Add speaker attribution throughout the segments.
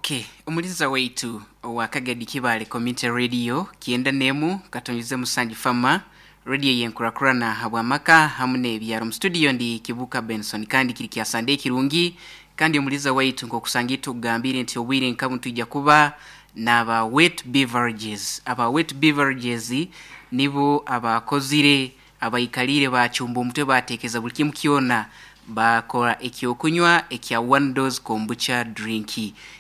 Speaker 1: Ok, omuliza waitu owa Kagadi Kibaale Community Radio kyenda n'emu katonyize musanju fama radio y'enkurakurana habw'amaka hamu n'ebyaro. Omu studio ndi Kibuuka Benson kandi kiri kya Sunday kirungi kandi omuliza waitu nk'okusanga itwe okugambiire nti obwire nka bunu twija kuba n'aba Wet Beverages. Aba Wet Beverages nibo abakozire Abaikaliire baacumba omutwe baateekeza buri kimu kyona, baakora eky'okunywa ekya One Dose Kombucha Drink.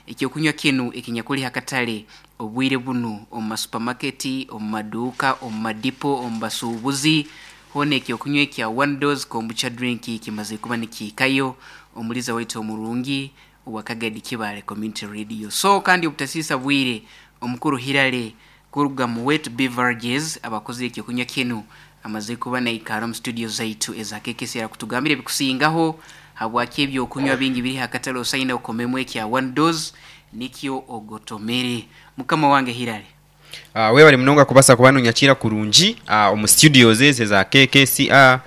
Speaker 1: Eky'okunywa kinu ekinyakuli ha katale obwire bunu omu masupamaketi, omu maduuka, omu madipo, omu basuubuzi, hoona eky'okunywa ekya One Dose Kombucha Drink kimazire kuba nikihikayo. Omuliza waitu omurungi owa Kagadi Kibaale Community Radio. So kandi obutasiisa bwire, Omukuru Hillary Kuruga mu Wet Beverages, abakozire ekyokunywa kinu amazire kuba naikara omu studio zaitu eza KKCR kutugambira ebikusingaho habwaki ebyokunywa bingi biri hakatale osaine okomemu ekya One Dose nikyo ogotomere. Mukama wange Hillary.
Speaker 2: Webale munonga kubasa kuba nonyakiira kurungi omu studios ezi eza KKCR.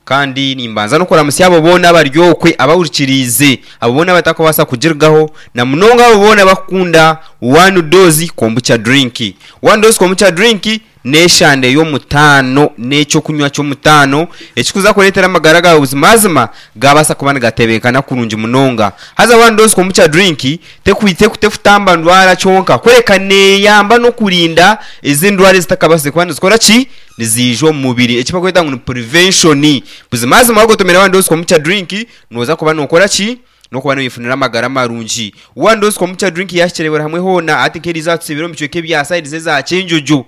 Speaker 2: Kandi nimbanza n'okuramutsya abo boona abari okwe abahurikiriize, abo boona abatakubaasa kugirugaho, na munonga abo boona abakukunda One Dose Kombucha Drink. One Dose Kombucha Drink n'eshande y'omutaano, n'eky'okunywa ky'omutaano ekirikuza kureetera amagara gaawe buzimazima gaabaasa kuba nigatebeekana kurungi munonga. Haza One Dose Kombucha Drink tekutamba ndwara kyonka kureka neeyamba n'okurinda ezindi ndwara ezitakabaasize kuba nizikora ki? Niziija omu mubiri eki barikweta ngu ni prevention. Buzimazima wagotomera one dose kombucha drink noza kuba nokora ki? Nokuba noyefunira amagara marungi. One dose kombucha drink yahikire buri hamwe hoona hati nk'eriizooba tusiibire omu bicweka ebya sides eza Kyenjojo,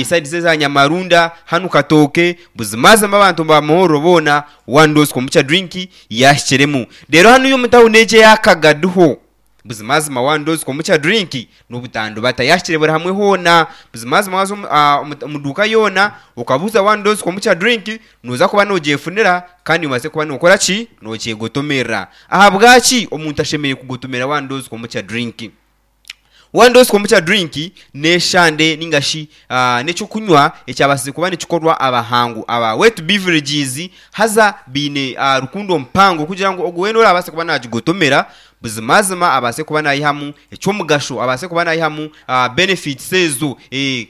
Speaker 2: sides eza Nyamarunda, hanu Katooke, buzimazima abantu ba Muhorro boona one dose kombucha drink yahikiremu. Reero hanuya omu tawuni egi eya Kagadi ho, Buzimazima one dose kombucha drink nobutandubata yahikire buri hamwe hoona. Buzimazima waza omu duuka yoona okabuuza one dose kombucha drink noza kuba nogyefunira kandi obaase kuba nokora ki? Nokyegotomerera. Ahabwaki omuntu ashemereire kugotomera one dose kombucha drink? One dose kombucha drink neshande ninga shi nekyokunywa ekyabaasize kuba nikikorwa abahangu aba wet beverages haza baine rukundo mpango kugira ngu ogwo weena orabaase kuba nagigotomera Buzimazima abaase kuba naihamu eky'omugasho, abaase kuba naihamu benefits ezo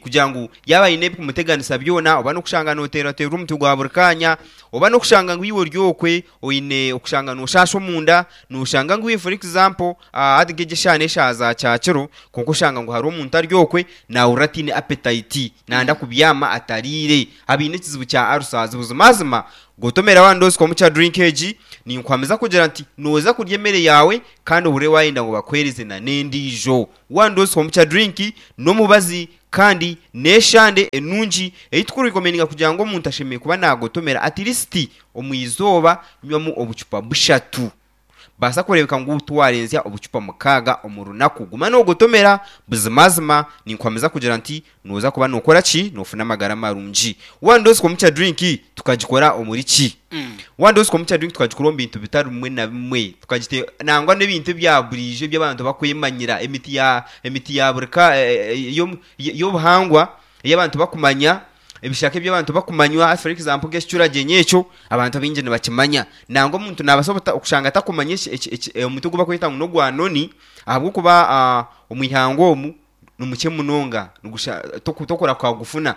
Speaker 2: kugira ngu yaaba aine ebikumuteganisa byona oba n'okushanga nooteerwateerwa omutwe gwa buri kaanya, oba n'okushanga ngu iwe ori okwe oine okushanga nooshaasha omunda, nooshanga ngu iwe for example hati nk'egi eshaaha n'eshaaha za kyakiro kwonka oshanga ngu hariho omuntu ari okwe naahurira ataine appetite, naayenda kubyama atariire, abaine ekizibu kya ulcers. Buzimazima Gotomera one dose kombucha drink egi, ninkuhamiza kugira nti noza kurya emere yaawe kandi ohurire wayenda ngu bakuhereze na n'endiijo. One dose kombucha drink n'omubazi kandi n'eshande enungi ei tukurikomeninga kugira ngu omuntu ashemereire kuba nagotomera at least omu izooba nywamu obucupa bushatu. Baasa kureebeka ngu tiwarenzya obucupa mukaaga omu runaku. Guma noogotomera. Buzimazima, ninkuhamiza kugira nti nooza kuba nookora ki? Noofuna amagara marungi. One Dose Kombucha Drink tukagikora omuri ki? One Dose Kombucha Drink tukagikora omu bintu bitari bimwe na bimwe. Tukagite nangwa n'ebintu ebya buriijo ebi abantu bakwemanyira, emiti ya emiti ya buri ka y'obuhangwa ei abantu bakumanya. Ebishaka ebi abantu bakumanywa, for example nk'ekicuragyenyi ekyo, abantu abaingi nibakimanya. Nangwa omuntu naabaasa obuta okushanga atakumanya eki eki eki omuti ogu barikweta ngu n'ogwa noni, ahabw'okuba omu ihanga omu ni mukye munonga, nigusha toku tokurahuka kugufuna.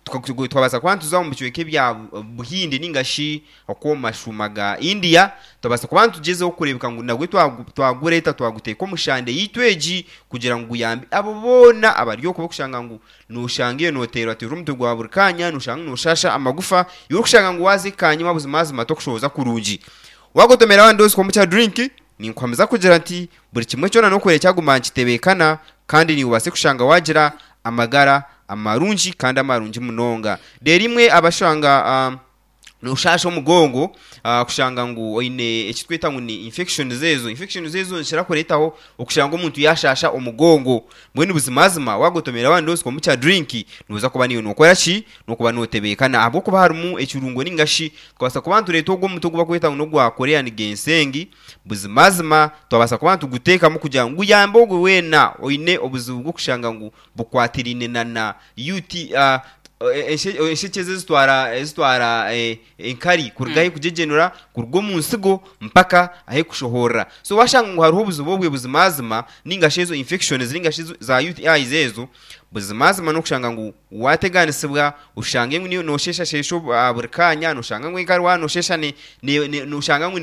Speaker 2: Tuka twabaasa kuba nituza omu bicweka ebya Buhindi nainga shi okw'omu mashuuma ga India, twabaasa kuba nitugyezaho kureebeka ngu nagwo twagureeta twaguteeka omu shande yaitu egi kugira ngu guyambe abo boona abari okwo abarikushanga ngu Nooshanga iwe nooteerwateerwa omutwe gwa buri kaanya, nooshanga ngu nooshaasha amagufa, iwe orikushanga ngu waaza ekanyima buzimazima tokushohoza kurungi. Waagotomera one dose kombucha drink, ninkuhamiza kugira nti buri kimwe kyona n'okureeba kyaguma nikitebeekana kandi naiwe obaase kushanga waagira amagara amarungi kandi amarungi munonga. Reero imwe abashanga. Nooshaasha omugongo kushanga ngu oine eki tweta ngu ni infections ezo. Infections ezo nizikira kureetaho okushanga omuntu yaashaasha omugongo. Mbwenu buzimazima waagotomera one dose kombucha drink, nooza kuba naiwe nookora ki? N'okuba nootebeekana ahabw'okuba harimu ekirungo nainga shi tukabaasa kuba nitureeta ogwo omuti ogu barikweta ngu n'ogwa Korean ginseng, buzimazima twabaasa kuba nituguteekamu kugira ngu guyambe ogwe weena oine obuzibu bw'okushanga ngu bukwatiraine na na UT. Enshekye ezi ezitwara ezitwara enkari kuruga ahu erikugyegenura kuruga omu nsigo mpaka ahu erikushohorera. So waashanga ngu hariho obuzibu obwe buzimazima nainga shi ezo infections nainga shi za UTIs ezo, buzimazima n'okushanga ngu waateganisibwa oshange ngu noosheeshasheesha buri kaanya, nooshanga ngu enkari waaba noosheesha nooshanga ngu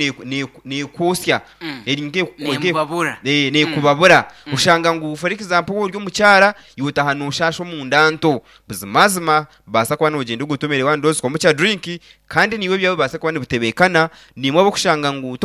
Speaker 2: neekwotsya. Eri
Speaker 1: Neemubabura.
Speaker 2: Neekubabura. Oshanga ngu for example waaba ori omukyara, iwe otaaha nooshaasha omunda nto. Buzimazima baasa kuba noogyenda ogotomere one dose komukya drink kandi naiwe ebyawe bibaase kuba nibitebeekana. Naimwe ab'okushanga ngu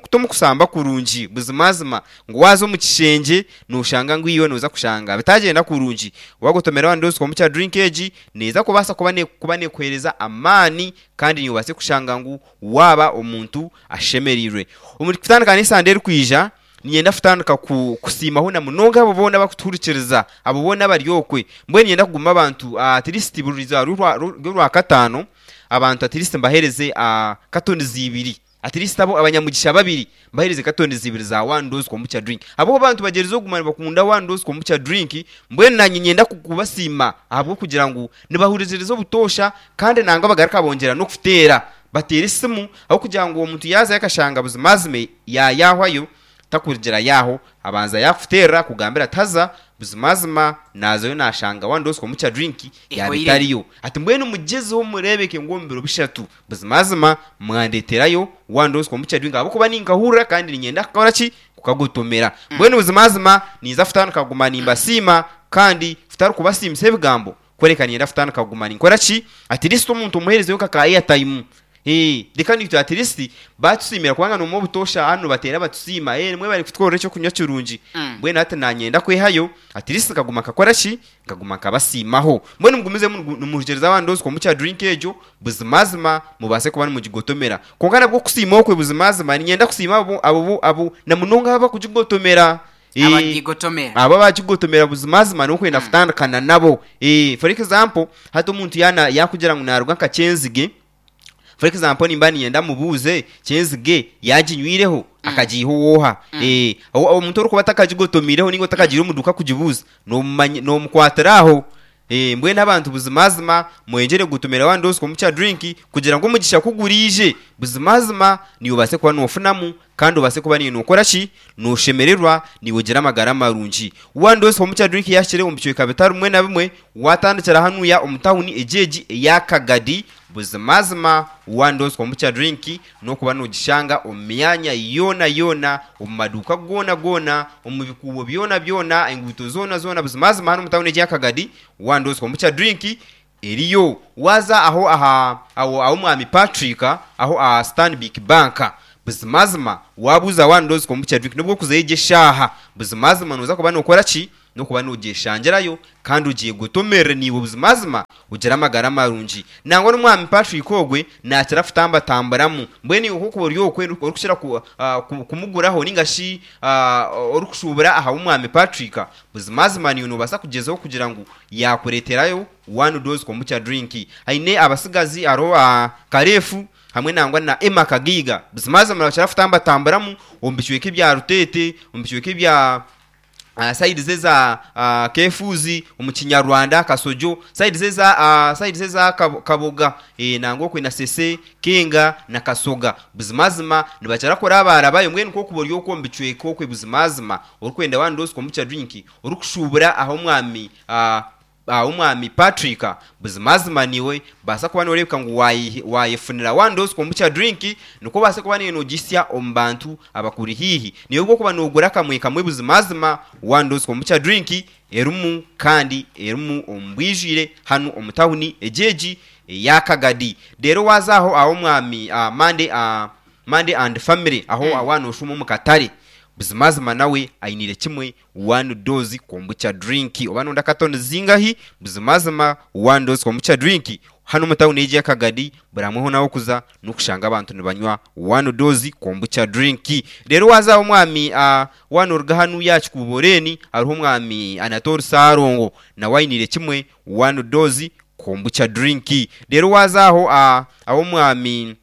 Speaker 2: timukusamba kurungi, buzimazima ngu waaza omu kishengye nooshanga ngu iwe nooza kushanga bitagyenda kurungi. Waagotomera one dose komukya drink egi neeza kubaasa kuba neekuheereza amaani kandi naiwe obaase kushanga ngu waaba omuntu ashemereirwe. Omu kutandika n'esande erikwija, niinyenda kutandika kusiimaho na munonga abo boona abarikutuhurikiriza, abo boona abari okwe. Mbwenu niinyenda kuguma abantu at least buri izooba ry'Orwakataano, abantu at least mbaheereze katonizi ibiri. At least abo abanyamugisha babiri mbaheereze katonizi ibiri za one dose kombucha drink. Ahabw'okuba abantu bagyerizeho kuguma nibakunda one dose kombucha drink, mbwenu naanye niinyenda kubasiima ahabw'okugira ngu nibahurikiriza obutoosha kandi nangwa bagaruka bongyera n'okuteera. Bateera esimu ahabw'okugira ngu omuntu yaazayo akashanga buzimazima yaayahwayo, takurugira yaaho, abanza yaakuteerera akugambira ati haza buzimazima naazayo naashanga one dose kombucha drink yaaba
Speaker 1: Ehwaire.
Speaker 2: etariyo. Ati mbwenu mugyezeho mureebeke ngu omu biro bishatu buzimazima mwandeeterayo one dose kombucha drink ahabw'okuba ninkahurira kandi niinyenda kukora ki? Kukagotomera. Mbwenu buzimazima ninza kutandika kuguma nimbasiima kandi kutari kubasiimisa ebigambo, Kureka niinyenda kutandika kuguma ninkora ki? At least omuntu omuheerezeyo nka ka airtime. Eeh, reka naitwe at least baatusiimira kubanga noomanya obutoosha hanu nibateera batusiima, eeh mwebare kutukorera eky'okunywa kirungi. Mbwenu hati naanye niinyenda kwehayo at least nkaguma nkakora ki? Nkaguma nkabasiimaho. Mbwenu mugumizemu nimuhurekyereza abandi ndowooza komukya drink egyo, buzimazima mubaase kuba nimugigotomera. Kwonka nabwo okusiima okwe buzimazima niinyenda kusiima abo abo abo na munonga abo abakugigotomera.
Speaker 1: Abagigotomera.
Speaker 2: Abo abagigotomera buzimazima n'okwenda kutandikana nabo. For example, hati omuntu yaana yaakugira ngu naaruga nka Kyenzige, for example nimba niinyenda mubuuze Kyenzige yaaginywireho akagiiha ow'oha? Omuntu orikuba atakagigotomeireho nainga otakagiire omu duuka kugibuuza, noomumanya noomukwatira aho. Mbwenu abantu buzimazima mweyongyere kugotomera one dose komukya drink kugira ngu omugisha ku guriije, buzimazima naiwe obaase kuba noofunamu Kandi obaase kuba niiwe nookora ki? Nooshemererwa, niiwe ogira amagara marungi. One Dose Kombucha Drink yaahikire omu bicweka bitari bimwe na bimwe, waatandikira hanuya omu tawuni egi egi eya Kagadi, buzimazima One Dose Kombucha Drink n'okuba noogishanga omu myanya yoona yoona, omu maduuka goona goona, omu bikuubo byona byona, enguuto zoona zoona, buzimazima hanu omu tawuni egi eya Kagadi, One Dose Kombucha Drink eriyo. Waaza aho aha aho ah'omwami Patrick aho aha Stanbic Bank, buzimazima waabuuza one dose kombucha drink n'obu orikuzayo egyo eshaaha, buzimazima nooza kuba nookora ki? N'okuba noogyeshangirayo kandi ogyegotomerere naiwe buzimazima ogire amagara marungi. Nangwa n'omwami Patrick ogwe naakira kutambatamburamu. Mbwenu iwe ku orikuba ori okwe orikukira kumuguraho nainga shi orikushuubura aha w'omwami Patrick, buzimazima naiwe noobaasa kugyezaho kugira ngu yaakureeterayo One dose kombucha drink. Aine abasigazi hariho Karefu hamwe nangwa na Emma Kagaiga. Buzimazima nibakira kutambatamburamu omu bicweka ebya Ruteete, omu bicweka ebya sayidi eza Kefuzi, omu Kinyarwanda, Kasojo, sayidi eza sayidi eza Kaboga nangwa okwe na Sese, Kenga na Kasoga. Buzimazima nibakira kurabarabayo mbwenu nk'okuba ori okwo omu bicweka okwe buzimazima orikwenda one dose kombucha drink orikushuubura aha omwami Omwami Patrick, buzimazima niiwe baasa kuba nooreebeka ngu waayefunira one dose kombucha drink nikwo obaase kuba niiwe noogihitsya omu bantu abakuri haihi. Niiwe obu orikuba noogura kamwe kamwe buzimazima one dose kombucha drink erimu kandi erimu omu bwijwire hanu omu tawuni egi egi eya Kagadi. Reero waaza aho ah'omwami Monday Monday and family aho waaba nooshuuma omu katare, buzimazima nawe ainiire kimwe One dose kombucha drink oba nonda katoni zingahi buzimazima one dose kombucha drink hanu omu tawuni egi eya Kagadi buri hamwe hoona ahokuza nokushanga abantu nibanywa one dose kombucha drink. Reero waza aha omwami waaba noruga hanuya aha kikuubo lane hariho omwami Anatoli Ssalongo nawe ainiire kimwe one dose kombucha drink. Reero waza aho ah'omwami.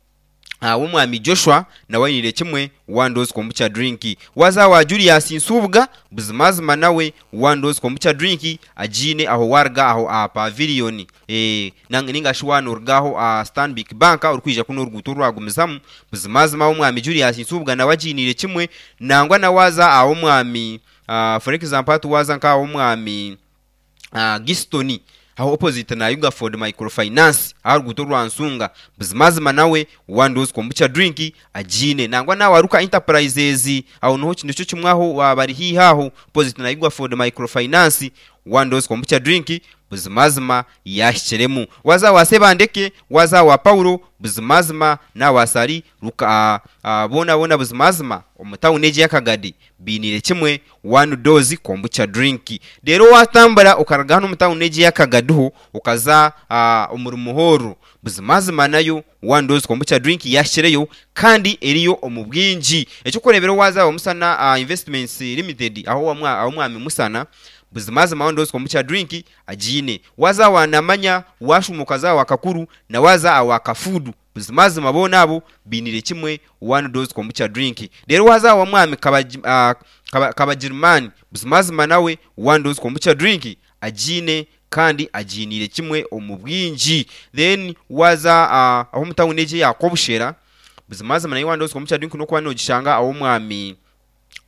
Speaker 2: W'omwami Joshua nawe ainiire kimwe One Dose Kombucha Drink. Waaza wa Julius Nsubuga buzimazima nawe One Dose Kombucha Drink agiine aho waaruga aho aha Pavilion ninga shi waaba nooruga aho aha Stanbic Bank orikwija kunu oruguuto orwagumizamu, buzimazima ow'omwami Julius Nsubuga nawe agiiniire kimwe. Nangwa na waaza aha w'omwami for example hati waaza nk'aha w'omwami Giston aho opposite na Ugaford Microfinance aha ruguuto rwa Nsunga buzimazima nawe One Dose Kombucha Drink agiine. Nangwa na Waruka Enterprises aho niho nikyo kimwe aho bari haihi aho opposite na Ugaford Microfinance One Dose Kombucha Drink buzimazima yaahikiremu. Waaza wa Sebandeke, waaza wa Paulo buzimazima na wa Sali Luka boona boona buzimazima omu tawuni egi ey'Akagadi bainiire kimwe One Dose Kombucha Drink. Reero waatambura okaruga hanu omu tawuni egi eya Kagaduho okaza omuri Muhorro, buzimazima nayo One Dose Kombucha Drink yaahikireyo kandi eriyo omu bwingi. Eky'okureeberaho waaza aha Musana Investments Limited aho Omwami Musana, buzimazima One Dose Kombucha Drink agiine. Waaza awa Namanya, waashuuma okaza awa Kakuru na waaza awa Kafuudu, Buzimazima boona abo bainiire kimwe One Dose Kombucha Drink. Reero waaza awa Mwami Kabagirimani, buzimazima nawe One Dose Kombucha Drink agiine kandi agiiniire kimwe omu bwingi. Then waaza aho omu tawuni egi eya Kobushera, buzimazima nayo One Dose Kombucha Drink nokuba nogishanga aw'omwami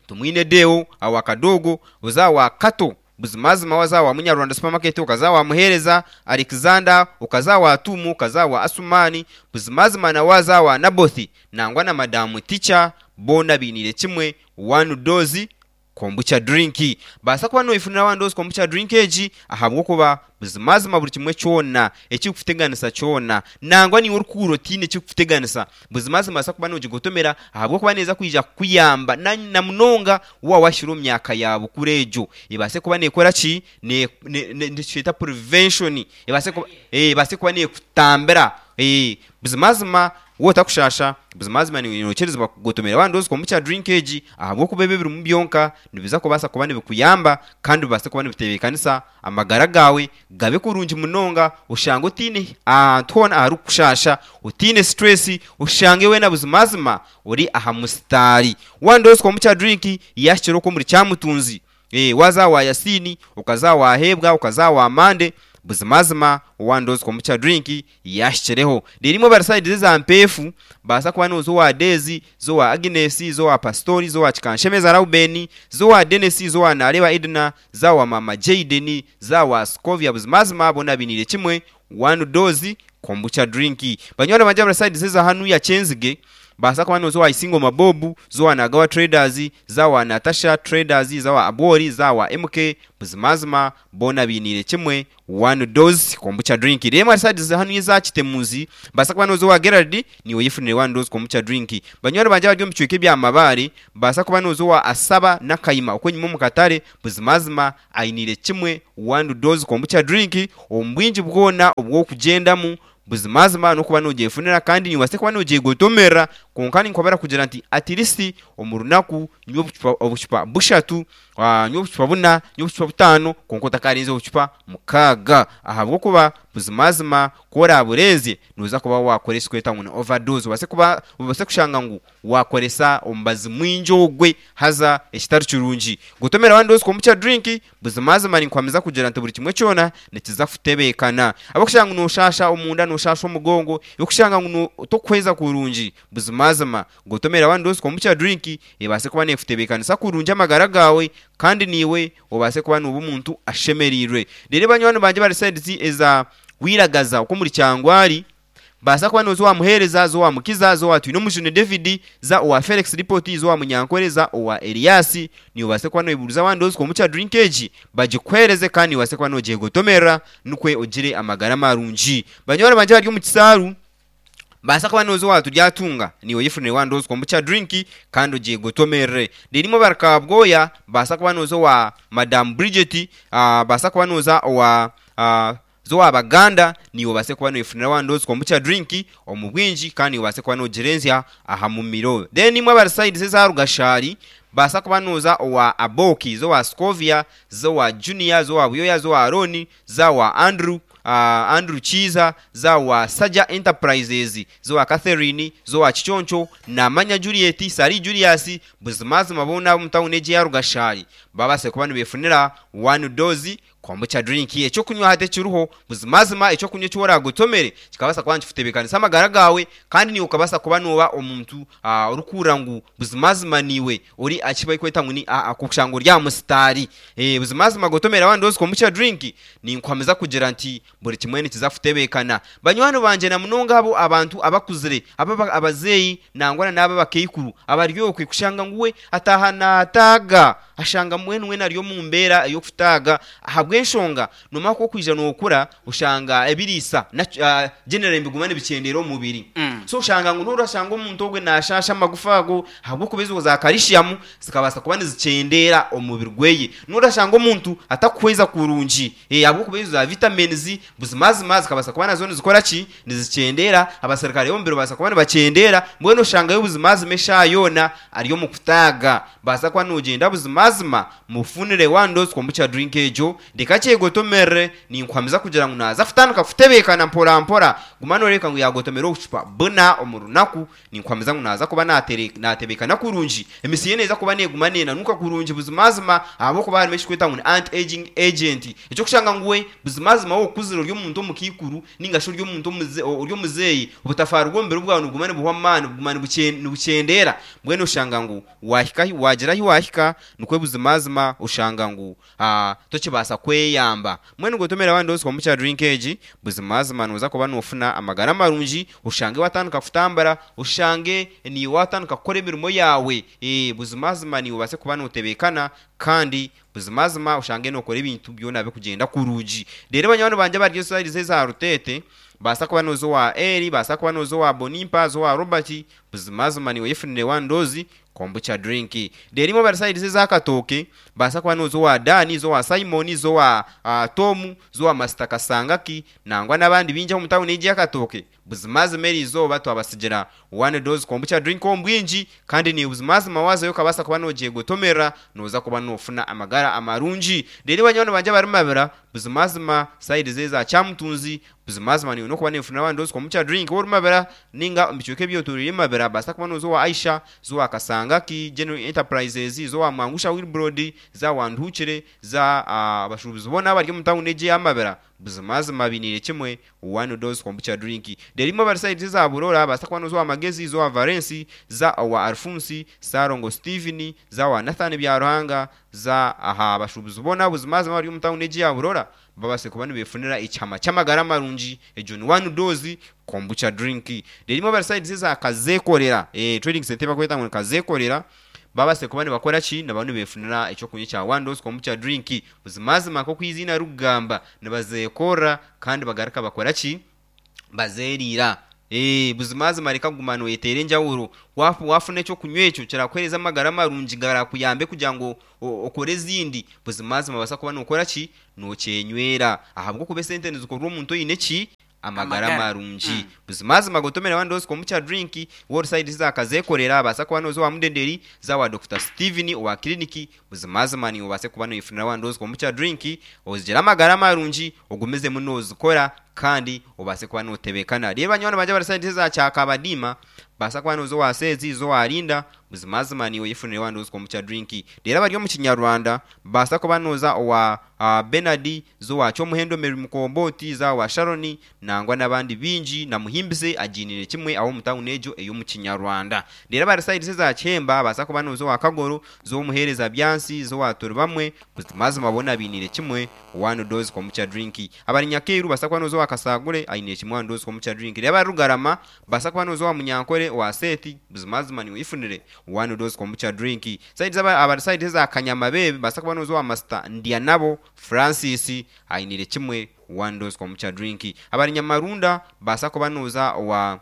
Speaker 2: Tumwine Deo, awa Kadogo, oze awa Kato, Buzimazima waza awa Munyarwanda Supermarket, okaza awa Muheereza Alexander, okaza awa Tuumu, okaza awa Asumani, buzimazima na waza awa Nabothi nangwa na Madamu Teacher boona bainiire kimwe One Dose Kombucha Drink. Baasa kuba noifunira One Dose Kombucha Drink egi ahabw'okuba buzimazima buri kimwe kyona ekirikukuteganisa kyona nangwa naiwe orikuhurira otaine ekirikukuteganisa Buzimazima noobaasa kuba noogigotomera ahabw'okuba neeza kwija kukuyamba na na munonga waaba waahikire omu myaka ya bukuru egyo. Ebaase kuba neekora ki? Ne- ne- ne- nikikyeta prevention. Ebaase kuba ebaase kuba neekutambira. Buzimazima waaba otakushaasha, buzimazima nookirizibwa kugotomera waaba nooza kombucha drink egi ahabw'okuba ebi ebirimu byonka nibiza kubaasa kuba nibikuyamba kandi bibaase kuba nibitebeekanisa amagara gaawe gabe kurungi munonga, oshange otaine ahantu hoona aharikukushaasha, otaine stress, oshange weena buzimazima ori aha musitaari. One Dose Kombucha Drink yaahikire okwo omuri Kyamutunzi, waaza aha wa Yasiini, okaza aha wa Heebwa, okaza aha wa Mande, buzimazima One Dose Kombucha Drink yaahikireho. Reero imwe abari sayidi z'eza Mpeefu, baasa kuba nooza owa Deezi, za owa Agnes, za owa Pasitori, za owa Kikanshemeza Rauben, za owa Dennis, za owa Nareeba Edna, za owa Maama Jayden, za owa Scovia buzimazima boona bainiire kimwe One Dose Kombucha Drink. Banywani bangye abari sayidi z'eza hanu ya Kyenzige, baasa kuba nooza owa Isingoma Bob, za owa Nagawa Traders, za owa Natasha Traders, za owa Abwori, za owa MK, buzimazima boona bainiire kimwe One Dose Kombucha Drink. Reero ahari sayidi za hanu eza Kitemuzi, baasa kuba nooza owa Gerald, naiwe oyefunire One Dose Kombucha Drink. Banywani bangye abari omu bicweka ebya Mabaare, baasa kuba nooza owa Asaba Nakayima okw'enyima omu katare, buzimazima ainiire kimwe One Dose Kombucha Drink omu bwingi bwona obw'okugyendamu. Buzimazima n'okuba noogyefunira kandi noobaasa kuba noogyegotomerera, kwonka ninkwabura kugira nti at least omu runaku nywa obucupa obucupa bushatu, nywa obucupa buna, nywa obucupa butaano kwonka otakarenza obucupa mukaaga ahabw'okuba buzimazima ku oraaburenzye nooza kuba waakora ekirikwetwa ngu ni overdose obaase kuba obaase kushanga ngu waakoresa omubazi mwingi ogwe haza ekitari kirungi. Gotomera one dose kombucha drink Buzimazima ninkuhamiza kugira nti buri kimwe kyona nikiza kutebeekana. Ahabw'okushanga ngu nooshaasha omunda, nooshaasha omugongo, ahabw'okushanga ngu tokuhweza kurungi, buzimazima gotomera one dose kombucha drink ebaase kuba neekutebeekanisa kurungi amagara gaawe kandi naiwe obaase kuba nooba omuntu ashemereirwe. Reero banywani bangye abari sayidi eza Bwiragaza okwo omuri Kyangwari, Baasa kuba nooza owa Muheereza, za owa Mukiza, za owa Twinomujuni David, za owa Felix Ripoti, za owa Munyankore, za owa Elias. Niiwe obaase kuba nooyebuuriza abandi ozi kombucha drink egi bagikuheereze kandi niiwe obaase kuba noogyegotomerera nikwo ogire amagara marungi. Banywani bangye abari omu kisaaru, baasa kuba nooza owa Turyatunga, niiwe oyefunire wandi ozi kombucha drink kandi ogyegotomerere. Reero imwe abari Kabwoya, baasa kuba nooza owa Madam Bridget, baasa kuba nooza owa Z'owa Baganda, naiwe obaase kuba noyefunira one dose kombucha drink omu bwingi kandi naiwe obaase kuba nogirenzya aha mumiro. Then imwe abari sides eza Rugashari, baasa kuba noza owa Aboki, z'owa Scovia, z'owa Junior, z'owa Buyoya, z'owa Arooni, za owa Andrew. Andrew Kiiza, za owa Saja Enterprises, z'owa Catherine, z'owa Kiconco, Namanya Juliet, Sali Julius, buzimazima boona ab'omu tawuni egi eya Rugashari babaasire kuba nibeefunira one dose Kombucha drink eky'okunywa hati ekiriho, buzimazima eky'okunywa eki oraagotomere kikabaasa kuba nikikutebeekanisa amagara gaawe kandi naiwe okabaasa kuba nooba omuntu orikuhurira ngu buzimazima naiwe ori aha ki barikweta ngu ni kushanga ori aha musitaari. Buzimazima gotomera one dose kombucha drink ninkuhamiza kugira nti buri kimwe nikiza kutebeekana. Banywani bangye na munonga abo abantu abakuzire, abo abazeeyi nangwa na n'abo abakaikuru abari okwe kushanga ngu we ataaha naataaga, ashanga mbwenu weena ari omu mbeera ey'okutaaga ahabw'enshonga noomanya ku orikwija nookura oshanga ebiriisa generally nibiguma nibikyendeera omu mubiri. So oshanga ngu noorashanga omuntu ogwe naashaasha amagufa ago ahabw'okuba ezo za calcium zikabaasa kuba nizikyendeera omu mubiri gweye. Noorashanga omuntu atakuhweza kurungi ahabw'okuba ezo za vitamins buzimazima zikabaasa kuba nazo nizikora ki? Nizikyendeera. Abaserukare b'omubiri babaasa kuba nibakyendeera. Mbwenu oshangayo buzimazima eshaaha yoona ari omu kutaaga. Baasa kuba noogyenda buzimazima mufunire one dose kombucha drink egyo, reka akyegotomerere. Ninkuhamiza kugira ngu naaza kutandika kutebeekana mpora mpora. Guma nooreebeka ngu yaagotomera obucupa buna omu runaku. Ninkuhamiza ngu naaza kuba naatebeekana kurungi, emisi ye neeza kuba neeguma neenanuka kurungi buzimazima ahabw'okuba harimu ekirikwetwa ngu ni anti-aging agent. Eky'okushanga ngu we buzimazima waaba okuzire ori omuntu omukaikuru nainga shi ori omuntu ori omuzeeyi, obutafaari bw'omubiri bwawe nibuguma nibuhwa amaani, buguma nibukyendeera. Mbwenu oshanga ngu waahika ahi waagira ahi waahika, nikwo buzimazima oshanga ngu tokibaasa kweyamba. Mbwenu gotomera waaba nooza omu drink egi, buzimazima nooza kuba noofuna amagara marungi, oshange waatandika kutambura, oshange naiwe waatandika kukora emirimo yaawe. Buzimazima naiwe obaase kuba nootebeekana kandi buzimazima oshange nookora ebintu byona birikugyenda kurungi. Reero banywani bangye abari esaidi eza Ruteete, baasa kuba nooza owa Eli, baasa kuba nooza owa Bonimpa, oza owa Robert, buzimazima naiwe oyefunire one dose Kombucha drink. Reero imwe abari sayidi z'eza Katooke, baasa kuba nooza owa Dan, z'owa Simon, z'owa Tom, z'owa Masita Kasangaki, nangwa n'abandi baingi omu tawuni egi eya Katooke. Buzimazima eri izooba twabatsigira one dose kombucha drink omu bwingi, kandi naiwe buzimazima waazayo okabaasa kuba noogyegotomerera, nooza kuba noofuna amagara amarungi. Reero banywani bangye abari Mabira, buzimazima sayidi z'eza Kyamutunzi, Buzimazima niiwe n'okuba neefunira abandi ozi kombucha drink waaba ori Mabira ninga omu bicweka ebyetoreire Mabira baasa kuba nooza owa Aisha, za owa Kasangaki General Enterprises, za owa Mwangusha Wilbrod, za owa Nduhukire, za abashuubuzi boona abari omu tawuni egi eya Mabira buzimazima bainiire kimwe one dose kombucha drink. Reero imwe abari sayidi eza Burora baasa kuba nooza owa Magezi, za owa Valensi, za owa Alphonse, Ssalongo Steven, za owa Nathan Byaruhanga, za aha bashuubuzi boona buzimazima abari omu tawuni egi eya Burora babaase kuba nibeefunira ekihama ky'amagara marungi, egyo ni one dose kombucha drink. Reero imwe abari sayidi eza Kazeekorera, trading centre ei barikweta ngu ni Kazeekorera, babaase kuba nibakora ki? Nibaba nibeefunira eky'okunywa ekya one dose kombucha drink. Buzimazima nk'oku eiziina ririkugamba, nibazeekorera kandi bagaruka bakora ki? Bazeeriira. Buzimazima reka kuguma nooyeteera enjawuro. Waafuna eky'okunywa ekyo kirakuheereza amagara marungi garakuyambe kugira ngu okore ezindi, buzimazima noobaasa kuba nookora ki? Nookyenywera. Ahabw'okuba esente nizikorwa omuntu oine ki? Amagara marungi. Buzimazima gotomera one dose kombucha drink, waaba ori sayidi za Kazeekorera, obaasa kuba nooza owa Mudenderi, za owa Dokita Steven owa kiriniki, buzimazima niiwe obaase kuba nooyefunira one dose kombucha drink, ozigire amagara marungi, ogumizemu noozikora kandi obaase kuba nootebeekana. Reero banywani bangye abari sayidi eza Kyakabadiima, baasa kuba nooza owa Seezi, za owa Linda, buzimazima niiwe oyefunire one dose kombucha drink. Reero abari omu Kinyarwanda, baasa kuba nooza owa Bernard, za owa Kyomuhendo Mary Mukombooti, za owa Sharon, nangwa n'abandi baingi, na Muhimbise agiiniire kimwe aho omu tawuni egyo ey'omu Kinyarwanda. Reero abari sayidi eza Kihemba, baasa kuba nooza owa Kagoro, za ow'Omuheereza Byansi, za owa Turibamwe, buzimazima boona bainiire kimwe one dose kombucha drink. Abari Nyakairu baasa kuba nooza owa Kasagure, ainiire kimwe one dose kombucha drink. Reero abari Rugarama, baasa kuba nooza owa Munyankore, owa Seeti, buzimazima niiwe oyefunire one dose kombucha drink. Sayidi z'aba abari sayidi eza Kanyamabeebe, baasa kuba nooza owa Masita Ndyanabo Francis, ainiire kimwe one dose kombucha drink. Abari Nyamarunda, baasa kuba nooza owa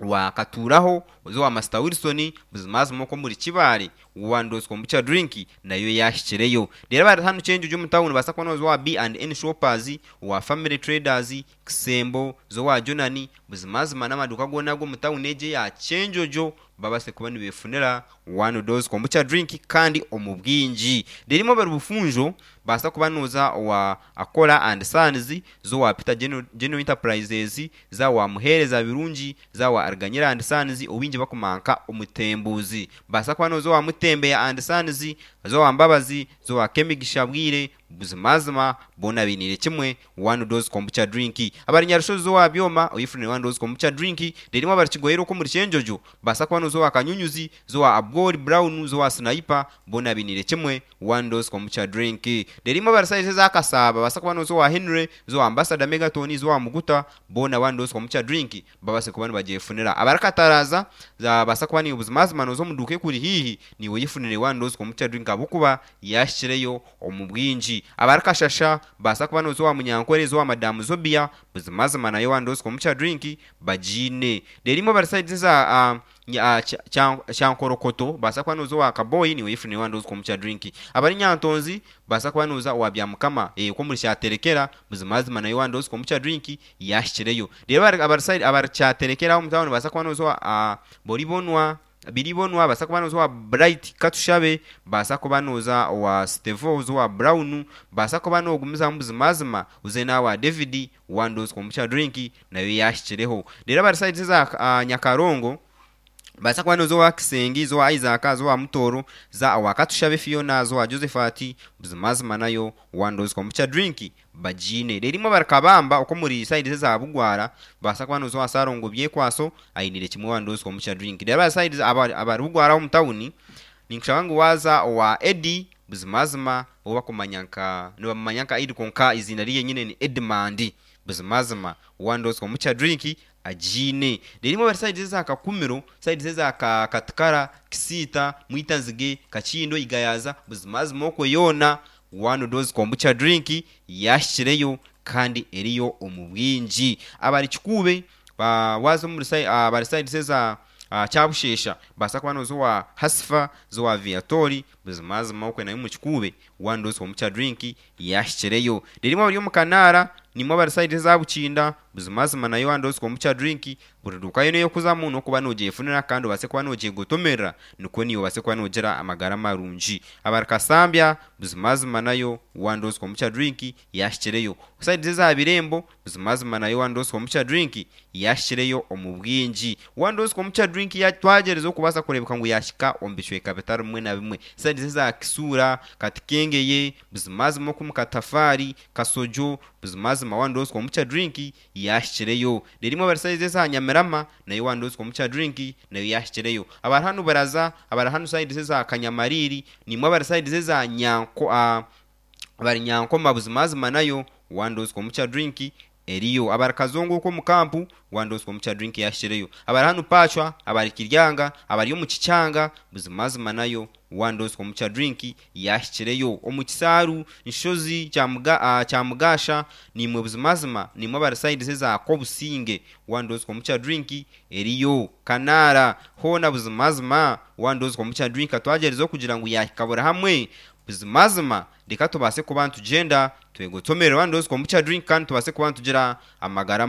Speaker 2: owa Katuuraho, oze owa Masita Wilson, buzimazima okwo omuri Kibaale, one dose kombucha drink nayo yaahikireyo. Reero abari hanu Kyenjojo omu tawuni nibaasa kuba nooza owa B and N Shoppers, owa Family Traders, Kisembo, za owa Jonani, buzimazima n'amaduuka goona ag'omu tawuni egi eya Kyenjojo. babase kuba nibefunira One Dose Kombucha Drink kandi omu bwingi. Reero imwe abari Bufunjo baasa kuba nooza owa Akola and Sons, za owa Peter General Enterprises, za owa Muheereza Birungi, za owa Ariganyira and Sons ou baingi bakumanya nka Omutembuuzi. Baasa kuba nooza owa Mutembeya and Sons, za owa Mbabazi, za owa Kemigisha Bwire, Buzimazima boona bainiire kimwe One Dose Kombucha Drink. Abari Nyarushozi owa Byoma oyefunire One Dose Kombucha Drink, reero imwe abari Kigoyero okwo omuri Kyenjojo baasa kuba nooza owa Kanyunyuzi, za owa Abwori Brown, za owa Sniper, boona bainiire kimwe One Dose Kombucha Drink. Reero imwe abari sayizi eza Kasaaba baasa kuba nooza owa Henry, za owa Ambassador Megaton, za owa Muguta, boona One Dose Kombucha Drink babaase kuba nibagyefunira. Abari Kataraza baasa kuba niiwe buzimazima nooza omu duuka ekuri haihi niiwe oyefunire One Dose Kombucha Drink ahabw'okuba yahikireyo omu bwingi. Abari Kashasha baasa kuba nooza owa Munyankore, za owa Madamu Zobia, buzimazima nayo One Dose Kombucha Drink bagiine. Reero imwe abari sayidi eza Kyankorokoto baasa kuba nooza owa Kaboyi niiwe oyefunire One Dose Kombucha Drink. Abari Nyantonzi baasa kuba nooza owa Byamukama okwo omuri Kyaterekera, buzimazima nayo One Dose Kombucha Drink yaahikireyo. Reero abari Kyaterekera aho omu tawuni baasa kuba nooza owa Boribonwa, Biribonwa, baasa kuba nooza owa Bright Katushabe, baasa kuba nooza owa Stevo, oze owa Brown, baasa kuba noogumizamu buzimazima oze n'awa David, One Dose Kombucha Drink nayo yaahikireho. Reero abari sayidi eza Nyakarongo baasa kuba nooza owa Kisengi, za owa Isaac, za owa Mutooro, za owa Katushabe Fiona, za owa Josephat, buzimazima nayo One Dose Kombucha Drink bagiine. Reero imwe abari Kabamba okwo omuri sayidi eza Bugwara baasa kuba nooza owa Ssalongo Byekwaso ainiire kimwe One Dose Kombucha Drink. Reero abari sayidi abari Bugwara aho omu tawuni ninkushaba ngu waaza owa Eddie buzimazima ou bakumanya nka nibamumanya nka Eddie kwonka eiziina rye ni Edmund buzimazima One Dose Kombucha Drink agiine. Reero imwe abari sayidi eza Kakumiro, sayidi eza Katikara, Kisiita, Mwitanzige, Kakindo, Igayaza, buzimazima okwo yoona One Dose Kombucha Drink yaahikireyo kandi eriyo omu bwingi. Abari Kikuube waaza omuri abari sayidi eza Kyabusheesha baasa kuba nooza owa Hasifa, za owa Viatori, buzimazima okwe nayo omu Kikuube One Dose Kombucha Drink yaahikireyo. Reero imwe abari omu Kanaara, naimwe abari sayidi eza Bukinda, buzimazima nayo One Dose Kombucha Drink buri duuka yoona ei orikuzamu n'okuba noogyefunira kandi obaase kuba noogyegotomerera nikwo naiwe obaase kuba noogira amagara marungi. Abari Kasambya, buzimazima nayo One Dose Kombucha Drink yaahikireyo. Sayidi eza Birembo, buzimazima nayo One Dose Kombucha Drink yaahikireyo omu bwingi. One Dose Kombucha Drink twagyerizeho okubaasa kureebeka ngu yaahika omu bicweka bitari bimwe na bimwe. Sayidi eza Kisuura, Katikengeye, buzimazima okwo omu Katafaari, Kasojo, buzimazima One Dose Kombucha Drink yaahikireyo. Reero imwe abari sayidi eza Nyamirama, nayo One Dose Kombucha Drink nayo yaahikireyo. Abari hanu Buraza, abari hanu sayidi eza Kanyamariiri, naimwe abari sayidi eza Nyanko abari Nyankoma buzimazima nayo One Dose Kombucha Drink eriyo. Abari Kazongo okwo omu kampu, One Dose Kombucha Drink yaahikireyo. Abari hanu Paachwa, abari Kiryanga, abari omu Kikyanga, buzimazima nayo One Dose Kombucha Drink yaahikireyo. Omu Kisaaru, Nshozi, Kyamugasha, naimwe buzimazima naimwe abari sayidi eza Kobusinge, One Dose Kombucha Drink eriyo. Kanaara, hoona buzimazima One Dose Kombucha Drink twagyerizeho kugira ngu yaahika buri hamwe, buzimazima reka tubaase kuba nitugyenda twegotomerere One Dose Kombucha Drink kandi tubaase kuba nitugira amagara.